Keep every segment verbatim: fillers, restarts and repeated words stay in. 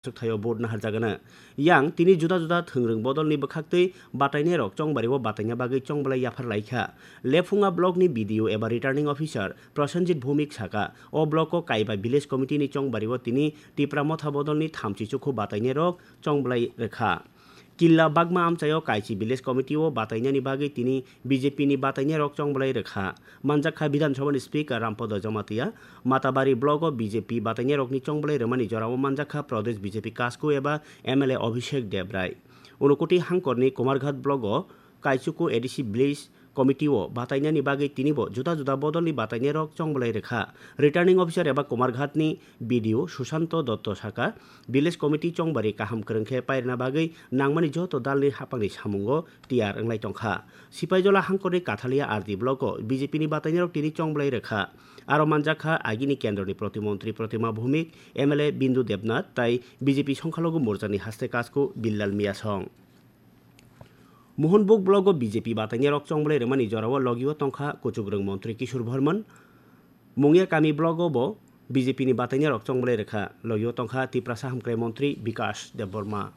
Aswk thaio vote naharjagano. Yang tini juda juda thwngrwng bodolni bwkhaktwi batainairok chongbario bataina bagwi chongbolai yaphar laikha. Lephunga blockni B D O eba returning officer Prosenjit Bhumik saka, o blocko kaiba village committeeni chongbario tini Tipra Motha bodolni thamchi chukhu batainairok chongbolai rwkha. Killa Bagma amchaio Kaichi Village Committee o batainani bagwi tini B J P ni batainairok chongbolai rwkha. Manjakha Bidhan Sabhani Speaker Rampada Jamatia, Matabari block o B J P batainairokni chongbolai rwmani jorao manjakha Pradesh B J P kasku eba M L A Abhishek Debrai. Unakoti hangkorni Kumarghat block o Kaichuku A D C Village Committee o batainani bagwi tinibo juda juda bodolni batainairok chongbolai rwkha. Returning Officer eba Kumarghatni B D O Susanto Dotto saka, Village Committee chongbari kaham kwrwng khe pairwna bagwi nangmani joto dalni haphangni samungo tiyar wnglai tongkha. Sipaijola hangkorni Kathalia R D block o B J P ni batainairok tini chongbolai rwkha. Aro manjakha agini kendroni protimontri Protima Bhumik, M L A Bindu Debnath tai B J P songkhalogo morchani haste kasku Billal Miyasong. Mohanbug block o B J P batainairok chongbolai rwmani jorao logio tongkha kuchukrwng montri Kishore Bharman, Mungia kami block o bo B J P ni batainairok chongbolai rwkha, logio tongkha Tiprasa hamkrai montri Bikash Debbarma.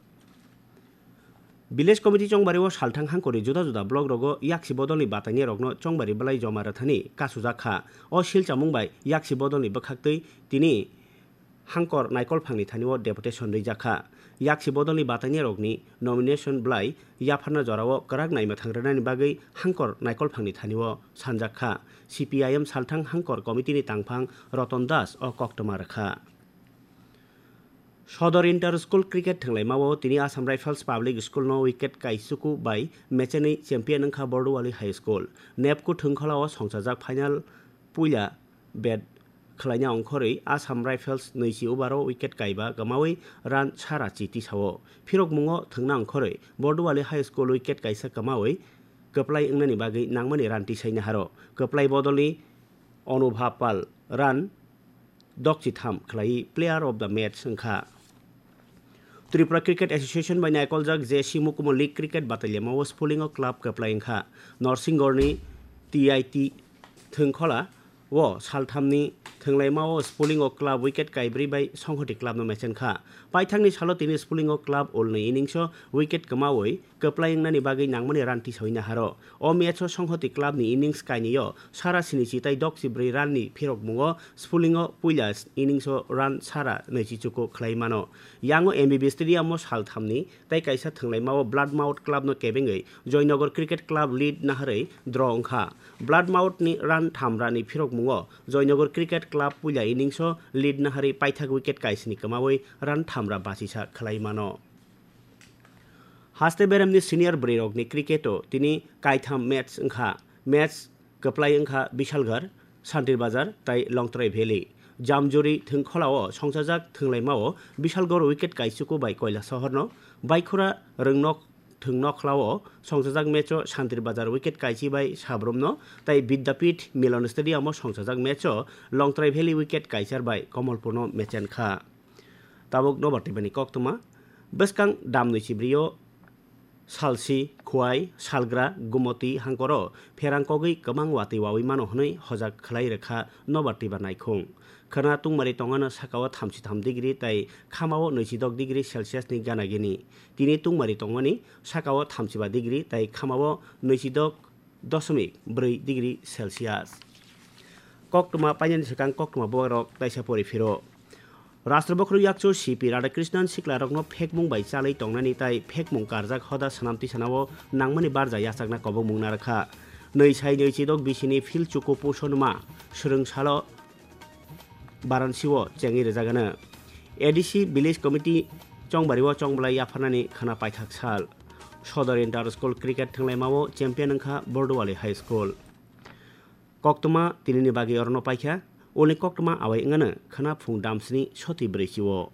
Village Committee chongbario salthang hangkorni juda juda block rogo yaksi bodolni batainairokno chongbari belai joma rwthani kasujakha. O silchamung bai yaksi bodolni bwkhaktwi tini hangkor naikolphangni thanio deputation rijakha. Yaksi bodolni batainairokni nomination belai yapharna jorao kwrak naima thang rwnani bagwi hangkor naikolphangni thanio sanjakha. C P I M salthang hangkor committee ni tangphang Ratan Das o koktwma rwkha. Sodor Inter School Cricket thwnglaimao tini Assam Rifles Public School no wicket kaichuku bai mechenwi champion wngkha Borduwali High School. Nepku thwngkholao songchajak final puila bat khwlaina ongkhorwi Assam Rifles nwichi over o wicket kaiba kwmawi run sara chi tisao. Phirokmungo thwngna ongkhorwi Borduwali High School wicket kaisa kwmawi kwplai wngnani bagwi nangmani run tisaina haro. Kwplai bodolni Onubha Pal run dokchitham khwlaiwi player of the match wngkha. Tripura Cricket Association bai naikoljak J C Mukumo League Cricket bataliamao Spulingo club kwplai wngkha. Norsinggorni T I T Thwngkhola o salthamni thwnglaimao Spulingo club wicket kaibrwi bai Songhoti clubno mechenkha. Paithakni salo tini Spulingo club ulni inningso wicket kwmawi kwplai wngnani bagwi nangmani run tisawi naharo. O match-o Songhoti clubni innings kainwio sara sinichi tai dokchi brwi run-ni phirokmungo Spulingo puila innings-o run sara nwichi chuku khwlai mano. Yango M B B Stadium-o salthamni tai kaisa thwnglaimao Bloodmouth clubno kebengwi Joynagar Cricket Club lead naharwi draw wngkha. Bloodmouth-ni run thamra ni phirokmungo Joynagar Cricket Club puila innings-o lead naharwi paithak wicket kaisni kwmawi run thamra bachisa khwlai mano. Haste beremni senior bwrwirokni cricket-o tini kaitham match wngkha. Match kwplai wngkha Bishalgarh, Santir Bazar tai Longtrai Valley. Jamjuri thwngkholao songchajak thwnglaimao Bishalgarh wicket kaichuku bai Koilasohorno, Baikhura Rwngnok thwngkholao songchajak match-o Santir Bazar wicket kaichi bai Sabrumno tai Vidyapith Milan Stadium-o songchajak match-o Longtrai Valley wicket kaichar bai Komolpurno mechenkha. Tabuk nobar twibani koktwma. Bwskang damnwi chibrio Salsi, Khwai, Salgra, Gumoti hangkoro pherang kogwi kwbang watwi wawi mano hwnwi hojak khwlai rwkha nobar twiba naikhung. Khwna tungmari tongmano sakao thamchi tham degree tai khamao nwichi dok degree Celsius ni gana gini. Tini tungmari tongmani sakao thamchi ba degree tai khamao nwichi dok doshomik bwrwi degree Celsius. Koktwma painani swkang koktwma bubagrok taisa pori phiro. Rashtra Bokhorok Yakchu C P Radhakrishnan siklarokno phekmung bai chalwi tongnani tai phekmung karjak hoda swnam tisanao nangmani barja yachakna kobokmung narwkha. Nwi sai nwi chidok bisini phil chuku puson ma swrwng salo Varanasi-o chengwi rwjagano. A D C Village Committee chongbario chongbolai yapharnani khwna paithak sal. Sodor Inter School Cricket thwnglaimao champion wngkha Borduwali High School. Koktwma tinini bagwi orono paikha, ulni koktwma awai wngano khwna phung damsni soti brwichi-o.